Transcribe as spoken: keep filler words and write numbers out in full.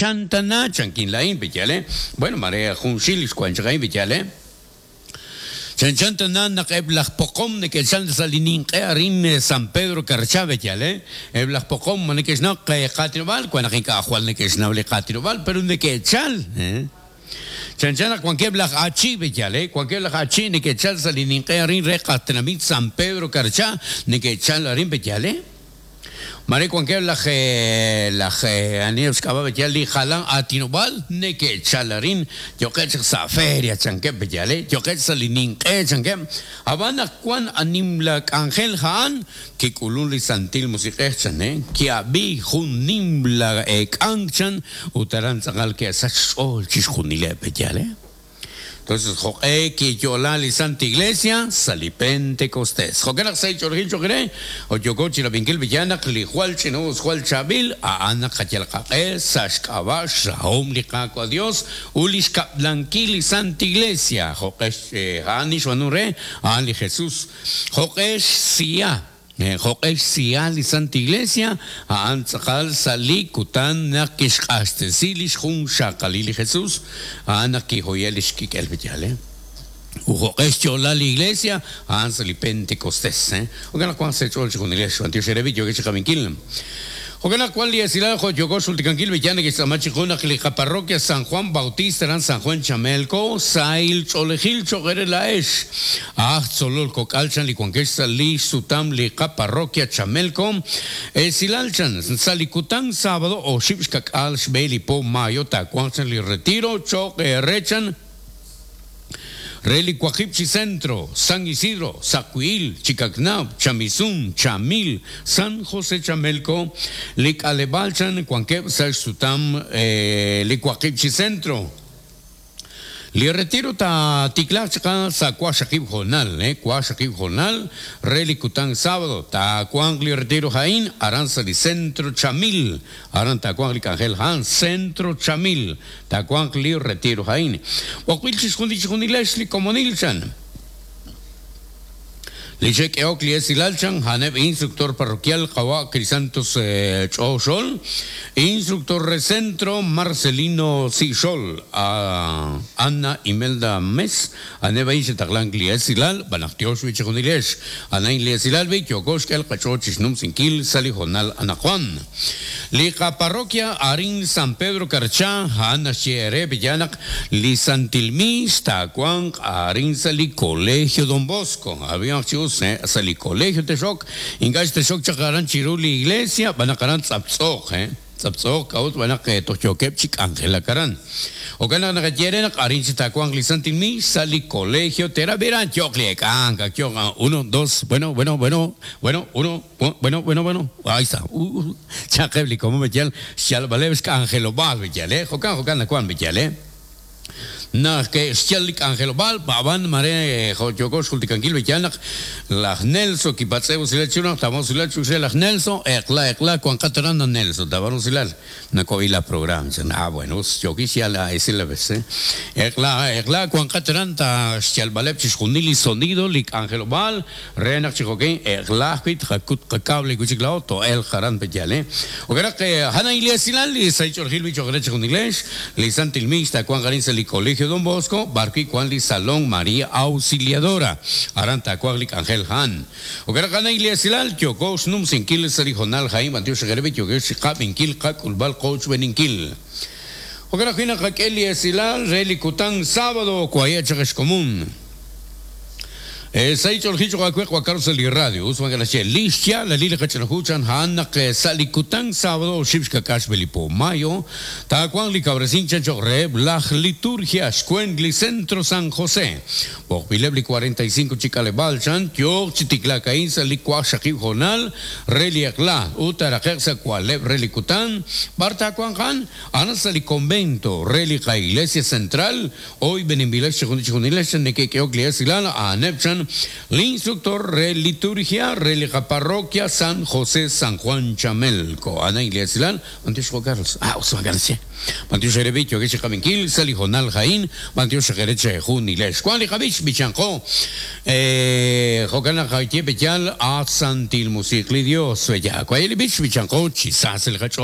Chanchan tana chankin lain beyale. Bueno, mare junxil xkuan chaqain beyale. Chanchan tana naq eb laj poqom neke'chal sa' li ninq'e arin San Pedro Carchá beyale. Eb laj poqom ma neke'xnaw qaatinob'aal wan naq ink'a' jwal neke'xnaw li qaatinob'aal pero neke'chal, eh. Chanchan naq wankeb' laj achi beyale, wankeb' laj achi neke'chal sa' li ninq'e arin re qatenamit San Pedro Carchá neke'chal arin beyale. Mare wankeb' laj laj aniheb' xk'ab'a' beyal li jalan aatinob'aal neke'chal arin yo'qeb' chaq sa' feria chankeb' beyale, yo'qeb' sa' li ninq'e chankeb'. Ab'an naq wan animla k'anjel ja'an kik'ulun li Santil Musiq'ej chan, eh, ki'ab'i jun nimla k'ank chan ut aran tz'aqal ke'sach xch'ool chixjunileb' beyale. Entonces, joq'e kiyo'la li Santa Iglesia sa' li Pentecostés. Jo'kan naq sa' ich'olojil cho'q re, oyoko chirab'inkil biyanaq li jwal ch'inus jwal chaab'il a'an naq qayal qaq'e sa' xk'ab'a' xrahom li Qaawa' Dios ut li xkab'lankil li Santa Iglesia. Joq'e a'an li xb'aanu re, a'an li Jesús. Joq'e xsiya, joq'e xsiya li Santa Iglesia, a'an tz'aqal sa' li kutan naq kixq'axtesi li xjunxaqalil li Jesús, a'an naq kijoye li xkik'el beyale. U joq'e xyo'la li Iglesia, a'an sa' li Pentecostés, eh. Jo'kan naq wan sa' ch'ool chixjunilex, b'antiox erebi yo'ke chiqabinkil. Jo'kan naq wan li esilal jo' yoko xultikankil beyan neke'xtz'aama chiqu naq li qaparroquia San Juan Bautista aran San Juan Chamelco sahil ch'oolejil cho'q re la'ex. Aj tzolol kok'al chan li wankex sa' li xsutam li qaparroquia Chamelco. Esilal chan sa' li kutan sábado oxib' xkak'al xb'e li po mayo taawanq chan li retiro cho'q re chan re li waqib' chi centro, San Isidro, Sacuil, Chicacnab, Chamizún, Chamil, San José Chamelco, li k'aleb'aal chan wankeb' sa' xsutam eh, li waqib' chi centro. Li retiro ta tiklaj chaqa sa' waqxaqib' jonal, eh, waqxaqib' jonal, re li kutan sábado, ta wanq li retiro jain, aran sa' li centro Chamil, aran ta wanq li k'anjel jan, centro Chamil, ta wanq li retiro jain. B'oqb'il chixjunil chixjunilex li komonil chan. Li xek'eok li esilal chan haneb instructor parroquial qawa Crisantos eh, Ch'oxol, instructor re centro Marcelino Sixol, a Ana Imelda Mes, aneb ain xetaqlan li esilal, banaq tiox wi chixjunilex, anain li esilal bi yokox k'el qach'o chixnum sinkil sali jonal anajuan. Li parroquia arin San Pedro Carchá, han xyere biyanaq li Santilmis tawanq arin sa li Colegio Don Bosco. Había chius sa li colegio texok, ingax texok chaqaran chiru li iglesia, banaqaran tz'aptz'oq, eh. Tz'aptz'oq k'aut banaq tojyokeb' chik Angela karan. Okan naq naqayere naq arin chi tawanq li Santilmis sa li colegio terabiran yoq li ek'ank, yoq uno, dos, bueno, bueno, bueno, bueno, uno, bueno, bueno, bueno, ahí está. Uh, chaqeb li como beyal, xyal baleb xk'angelob'al beyal, eh. Jokan, jokan nakuan beyal, eh. Naq ke xyal li k'anjelob'aal b'aban mare jo'yoko xjultikankil beyal naq laj Nelson kipatz'ew usilal chu naq tamo usilal chu laj Nelson eqla eqla kuan qataran na Nelson tabar usilal nako ila program chan ah bueno yoki xyal a esila bes eh eqla eqla kuan qataran ta xyal baleb chixjunil li sonido li k'anjelob'aal re naq chijokin eqla ajwi' qakut qakable kuchiklao to el jaran beyal eh okaraq hana ilesilal li saych'orjil bichoqre chixjunilex li Santilmix ta kuan qarin sa li Colegio Don Bosco, barqui kuan li Salón María Auxiliadora, aran takuan li Ángel Han. Okaraq hana ilesilal yoko xnum sinkil sa li jonal jaim antiox xegerebe yoko xiqab inkil qak ulbal qoch beninkil. Okaraq hina qak'el esilal re li kutan sábado kuaya chaqex común. Saych'oljicho qakweq wakar sa li radio, usman galache lixya la lili qach'anajuchan han naq sa li kutan sábado xib xkakax belipo mayo, takuan li cabrecin chan choqre laj liturgia xkuen li centro San José. B'oqbileb li cuarenta y cinco chikaleb'al chan yoq chitiklakain sa li waqxaqib jonal re li eqla utaraqeq sa kualeb re li kutan bar takuan jan ana sa li convento re li qa iglesia central hoy benimbilex chijunilex nekekeok li esilal aneb chan l'instructor re liturgia re la parroquia San José San Juan Chamelco. Ana Iglesia Mantiox Carlos. Ah, Usman García. Mantiox Erebicho, que Chicaminkil, Salijonal Jaín, Mantiox Gereche Junilesh. Juan Lijabich, Bichanco, eh, Jocana Jaitie Bechal, a Santil Musikli Dios, ya. Cuayeli Bich, Bichanco, Chisas el Hacho.